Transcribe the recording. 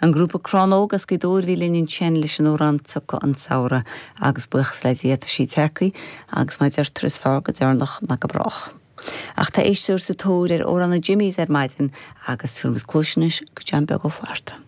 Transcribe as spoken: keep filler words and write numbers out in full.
An grúpa Crannóg as Gaoth Dobhair a bhí linn ansin leis an amhrán Tiocfaidh an Samhradh agus buíochas le Dia tá sé tagtha agus mar a deirtear is fearr go deireanach ná go brách. Ach tá éisteoir sa tóir ar amhrán na Jimmies ar maidin agus tuairim cluiseis go John Beag Ó Flatharta.